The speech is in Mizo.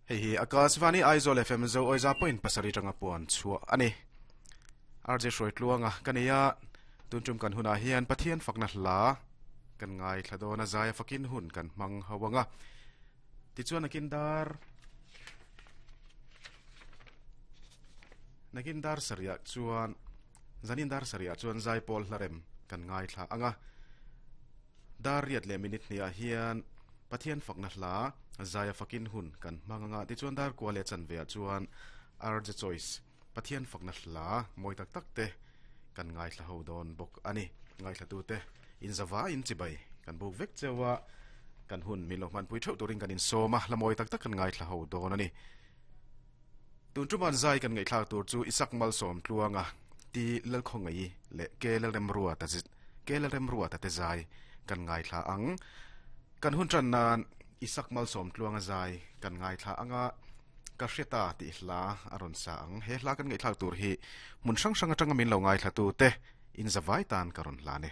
Hei hi Akashvani Aizawl FM Zo Awiza point pasarih tanga puan chhuah a ni. RJ Hruai Tluanga ka nei a, tun tum kan hunah hian Pathian fakna hla kan ngaithla dawn a, zaia fakin hun kan hmang ho ang a. Tichuan nakin dar nakin dar sarihah chuan zanin dar sarihah chuan zaipawl hlarem kan ngaithla ang a. Dar riat leh minute hniah hian Pathian fakna hla zaia fakin hun kan hmang anga tichuan dar kua leh chanve ah chuan RJ Choice Pathian fakna hla mawi tak tak te kan ngaithla ho dawn bawk a ni. Ngaithla te in zava in chibai kan buk vek cheu a, kan hun min lo hmanpui theuh turin kan insawm a, hla mawi tak tak kan ngaithla ho dawn a ni. Tun ṭuman zai kan ngaihthlak tur chu Isak Malsawm Tluanga, Ti Lalkhawngaih leh Ke Lalremruata Ke Lalremruata te zai kan ngaithla ang. Kan hun ṭan nan Isak Malsawm Tluanga zai kan ngaithla ang a, Ka hre ta tih hla a rawn sa ang. He hla kan ngaihthlak tur hi hmun hrang hrang aṭanga min lo ngaithlatu te inzavai tan ka rawn hlan e.